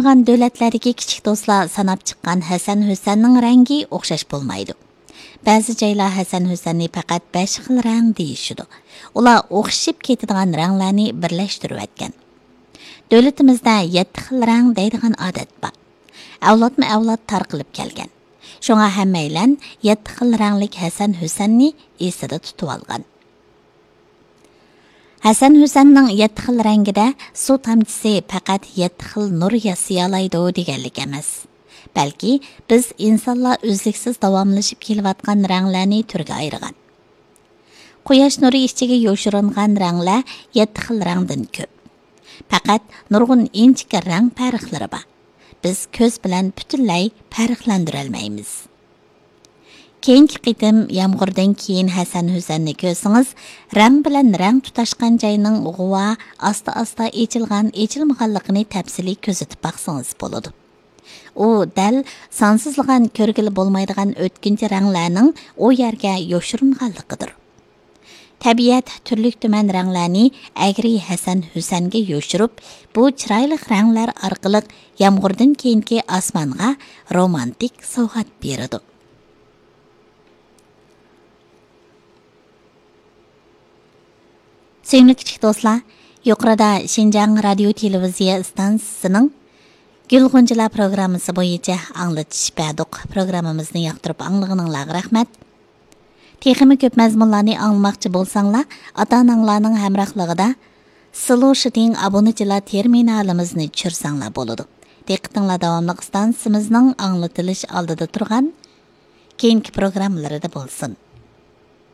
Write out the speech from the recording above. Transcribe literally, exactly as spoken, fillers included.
قالغان دۆلەتلەردىكى كىچىك دوستلار ساناپ چىققان ھەسەن ھۈسەننىڭ رەڭگى ئوخشاش بولمايدۇ. بەزى جايلار ھەسەن ھۈسەننى پەقەت بەش خىل رەڭ دېيىشىدۇ. ئۇلار ئوخشىشىپ كېتىدىغان رەڭلەرنى بىرلەشتۈرۈۋەتكەن. دۆلىتىمىزدە يەتتە خىل رەڭ دەيدىغان ئادەت بار. ئەۋلادمۇ ئەۋلاد تارقىلىپ كەلگەن. شۇڭا ھەممەيلەن يەتتە خىل رەڭلىك ھەسەن ھۈسەننى ئېسىدە تۇتۇۋالغان. ھەسەن ھۈسەننىڭ يەتتە خىل رەڭگىدە سۇ تامچىسى پەقەت يەتتە خىل نۇر ياسىيالايدۇ دېگەنلىك ئەمەس. بەلكى بىز ئىنسانلار ئۈزلۈكسىز داۋاملىشىپ كېلىۋاتقان رەڭلەرنى تۈرگە ئايرىغان. قۇياش نۇرى ئىچىگە يوشۇرۇنغان رەڭلەر يەتتە خىل رەڭدىن كۆپ. پەقەت نۇرغۇن ئىنچىكە رەڭ پەرقلىرى بار. بىز كۆز بىلەن پۈتۈنلەي پەرقلەندۈرەلمەيمىز. كېيىنكى قېتىم يامغۇردىن كېيىن ھەسەن ھۈسەننى كۆرسىڭىز، رەڭ بىلەن رەڭ تۇتاشقان جاينىڭ غۇۋا، ئاستا-ئاستا ئېچىلغان، ئېچىلمىغانلىقىنى تەپسىلىي كۆزىتىپ باقسىڭىز بولىدۇ. ئۇ دەل سانسىزلىغان كۆرگىلى بولمايدىغان ئۆتكۈنچى رەڭلەرنىڭ ئۇ يەرگە يوشۇرۇنغانلىقىدۇر. تەبىئەت تۈرلۈك-تۈمەن رەڭلەرنى ئەگرى ھەسەن ھۈسەنگە يوشۇرۇپ، بۇ چىرايلىق رەڭلەر ئارقىلىق يامغۇردىن كېيىنكى ئاسمانغا رومانتىك سوۋغات بېرىدۇ. سۆيۈملۈك كىچىك دوستلار، يۇقىرىدا شىنجاڭ رادىيو تېلېۋىزىيە ئىستانسىسىنىڭ گۈل غۇنچىلار پروگراممىسى بويىچە ئاڭلىتىش بەردۇق. پروگراممىمىزنى ياقتۇرۇپ ئاڭلىغىنىڭلارغا رەھمەت. تېخىمۇ كۆپ مەزمۇنلارنى ئاڭلىماقچى بولساڭلار، ئاتا-ئاناڭلارنىڭ ھەمراھلىقىدا سلوشىتىڭ ئابۇنىچىلار تېرمىنالىمىزنى چۈشۈرسەڭلار بولىدۇ. دىققىتىڭلار داۋاملىق ئىستانسىمىزنىڭ ئاڭلىتىلىش ئالدىدا تۇرغان كېيىنكى پروگراممىلىرىدا بولسۇن.